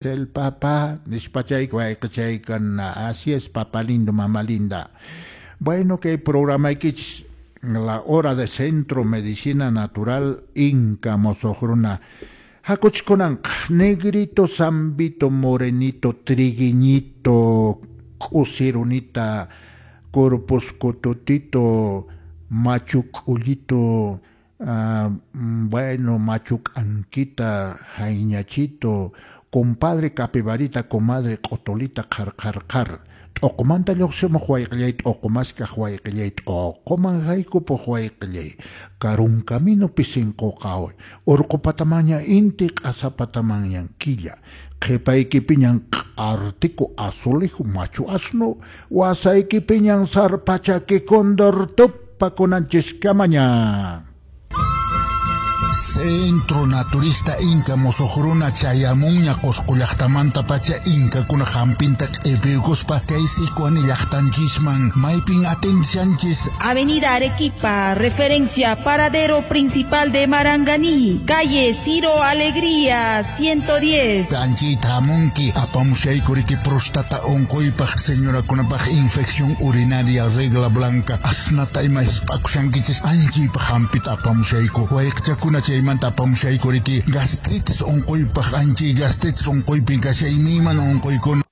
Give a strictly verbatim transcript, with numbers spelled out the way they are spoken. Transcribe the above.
El papá, nispachay wayqichaykuna. Así es, papá lindo, mamá linda. Bueno, que programa X, la hora de Centro Medicina Natural Inca Mosohruna. Hakuchkunan, negrito, zambito, morenito, triguiñito, k'usirunita, corpuscototito, machuc'ullito, uh, bueno, machuc'anquita, jaiñachito, compadre capibarita, comadre q'otolita, qhar qhar qhar. T'uqumanta lluqsimuq wayqillay, t'uqumaskaq wayqillay, t'uquman haykupuq wayqillay. Karun caminopi sinquqaway, urqupatamaña inti, q'asapatamañan killa. Qhipaykipiñan q'artiku azulejo machu asno, wasaykipiñan sarpachaki cóndor tupakunanchiskamaña. Centro Naturista Inca Mosohruna chayamunña Qosqo llaqtamanta pacha Inkakuna hampinta q'ipiykuspa kay Sicuani llaqtanchisman maypin atendishanchis. Avenida Arequipa, referencia paradero principal de Maranganí, calle Ciro Alegría, ciento diez. Anchita hamunki apamushayku riki prostata unquypaq señorakunapaq infección urinaria regla blanca asnata ima hisp'akushankichis anchaypaq hampita apamushayku wayqichakuna chaymanta apamushayku riki gastritis unquypaq anchay gastritis unquypin kashay imaymana unquykuna.